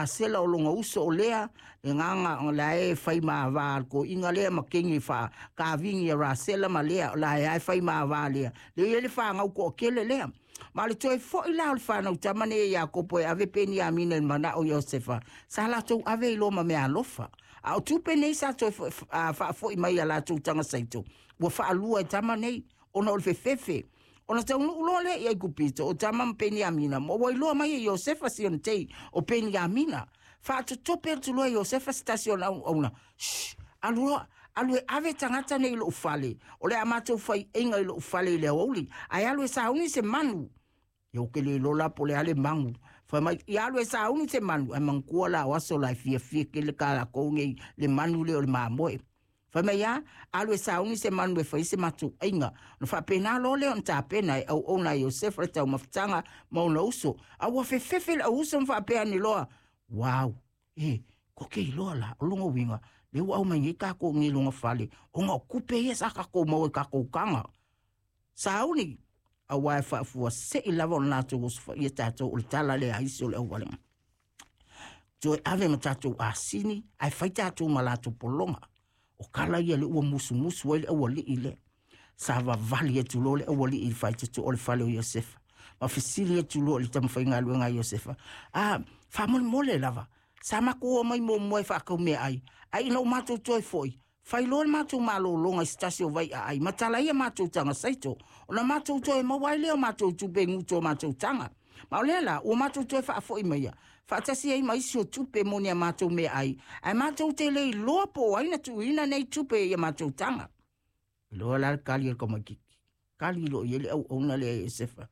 Asela o lona uso o Lea, le agaga o la e fai ma va le toeaina lea ma keni faakavini a Rasela ma Lea, o la e lava e fai ma va lea, lea e i ai le fanau toatele lea. Ma o le toe foi la o le fanau tama nei a Iakopo e ave Peniamina i le manao o Iosefa, sa latou ave ai loa ma meaalofa. A o tupe nei sa toe faafoi mai i a latou taga saito, ua faalua e tama nei, ona o le fefefe. Ona taunuu loa lea i Aikupito, o tama ma Peniamina, ma ua iloa mai e Iosefa si ona tei o Peniamina. Faatotope atu loa e Iosefa se tasi o ana auauna, Shh! Alu loa, alu e ave tagata nei i lou fale, o le a matou faiaiga i lou fale i le aoauli, ae alu e sauni se manu. Ia ou te le iloa la po o le a le magu. Fai mai, ia alu e sauni se manu, ae manatua la o aso la e fiafia tele ka latou nei le manu lea o le mamoe. Fai mai a, alu e sauni se manu e fai se matou aiga. Ona faapena loa lea ona tapena e auauna a Iosefa le taumafataga ma ona uso. A ua fefefe le auuso ma faapea ane loa, Wow! E, ko ke iloa la, o lona uiga, lea ua aumai nei tatou i nei lona fale, ona o tupe ia sa tatou maua i tatou taga. Sauni, aua e faafuasei lava ona latou osofaia tatou o le tala lea a isi o le auvalega. Toe ave ma tatou asini, ae fai tatou ma latou pologa. O tala ia lea ua musumusu ai le aualii lea. Sa vavali atu loa le aualii i le faitotoa o le fale o Iosefa. Ma fesili atu loa i le tamafaigaluega a Iosefa, A, faamolemole lava, sa matou omai muamua e faatau meaai, ae ina ua matou toe foi, Fai loa le matou malologa i se tasi o vaiaai ma tala ai a matou taga saito, ona matou toe maua ai lea o matou tupe i gutu o matou taga. Ma o lea la, ua matou toe faafoi maia, faatasi ai ma isi o tupe mo ni a matou meaai, ae matou te le iloa po o ai na tuuina nei tupe i a matou taga. Iloa la le kali a le tamaitiiti. Kali loa i ai le auauna lea e Iosefa.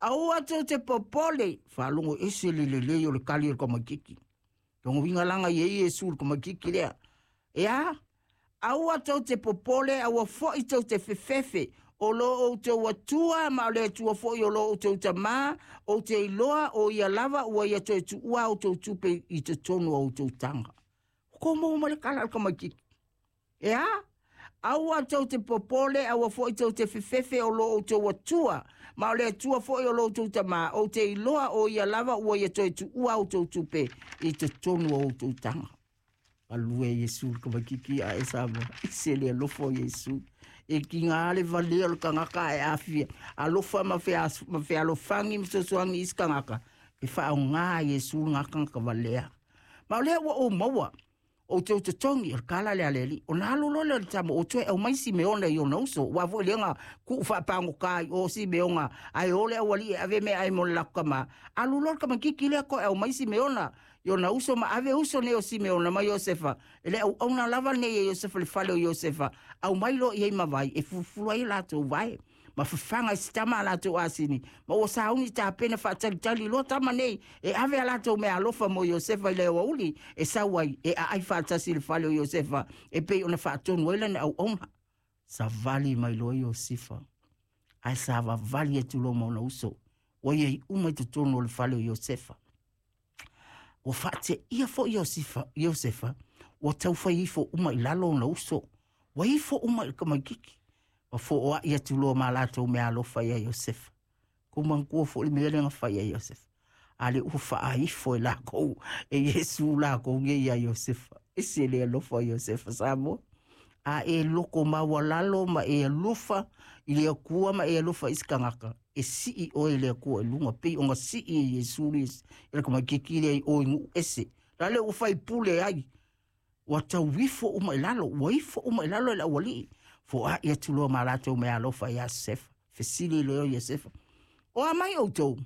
Aua tou te popole, faalogo ese le lelei o le kali o le tamaitiiti. Lona uiga laga i ai Iesu i le tamaitiiti lea. E a? Aua tou te popole, aua foi tou te fefefe, o lo outou Atua ma o le Atua foi o lo outou Tamā, ou te iloa o ia lava ua ia toe tuua a outou tupe i totonu o outou taga. Ua tou maua mai le tala a le tamaitiiti. E a? Aua tou te popole, aua foi tou te fefefe o lo outou Atua, ma o le Atua foi o lo outou Tamā, ou te iloa o ia lava ua ia toe tuua a outou tupe i totonu o outou taga. Galue Iesu le tamaitiiti a e Samoa, i se le alofa o Iesu. E tiga le valea o le tagata ae afia alofa ma fealofani ma fesoasoani i isi tagata, e faaaoga e Iesu lena tagata valea. Ma o lea ua ou maua, Ou te totogi, o le kala lea a le alii. Ona alu loa lea o le tama, ua toe aumai Simeona i ona uso. Aua foi lea na tuu faapagota i o Simeona, ae o le aualii e ave meaai mo le latou tama. Alu loa le tamaitiiti lea toe aumai Simeona i ona uso ma ave uso nei o Simeona ma Iosefa, e le auauna lava nei e Iosefa i le fale o Iosefa, aumai loa i ai ma vai e fulufulu ai latou vae. Ma fafaga i se tama a latou asini, ma ua sauni tapena faatalitali loa tama nei e ave a latou meaalofa mo Iosefa i le aoauli e sau ai e aai faatasi i le fale o Iosefa e pei ona faatonu ai lana auauna. Savali mai loa Iosefa, ae savavali atu loa ma ona uso, ua i ai uma i totonu o le fale o Iosefa. Ua faateia foi Iosefa, Iosefa, ua taufai ifo uma i lalo ona uso, ua ifo uma i le tamaitiiti. Ua fooaʻi atu loa ma latou meaalofa iā Iosefa. Kou manatua foi le mea lea na fai iā Iosefa. A lea ua faaifo e lakou e Iesu lakou nei iā Iosefa. Ese le alofa o Iosefa Samoa. A e loko maualalo ma e alofa i le Atua ma e alofa i se tagata, e sii oe e le Atua i luga, pei ona sii e Iesu le le tamaitiiti lea i o i nuu ese. La lea ua faipule ai, ua tau ifo uma i lalo, ua ifo uma i lalo e le aualii. Foai atu loa ma latou meaalofa iā Iosefa. Fesili loa Iosefa, O a mai outou?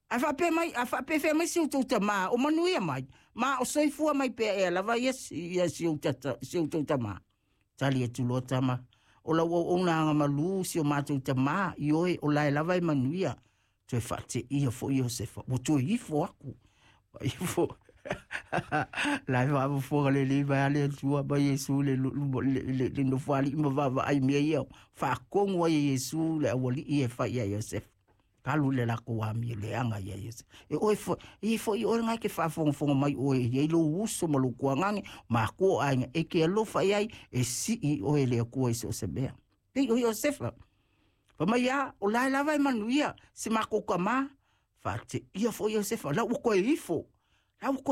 Ae faapea mai, a faapefea mai si outou tamā, o manuia mai, ma o soifua mai pea ea lava ia, ia si ou tata, si outou tamā. Tali atu loa tama, o lau auauna agamalu si o matou tamā, ioe, o lae lava e manuia. Toe faateia foi Iosefa, ua toe ifo aku. Ua ifo. La e faafofoga lelei mai a le Atua ma Iesu le, le, le, le nofoalii ma vaavaai mea ia. Faatonu ai e Iesu le aualii e fai ia Iosefa. Kalu le latou amio leaga ia Iosefa. E oe foi, e foi oe ngai ke faafogafoga mai oe e i ai lou uso ma lou tuagage, makua o aiga, e ke alofa i ai, e sii oe e le Atua i so o se mea. Pei o Iosefa. Fai mai a, o lae lava e manuia, si matou tamā, faateia foi Iosefa, la ua toe ifo. La ua toe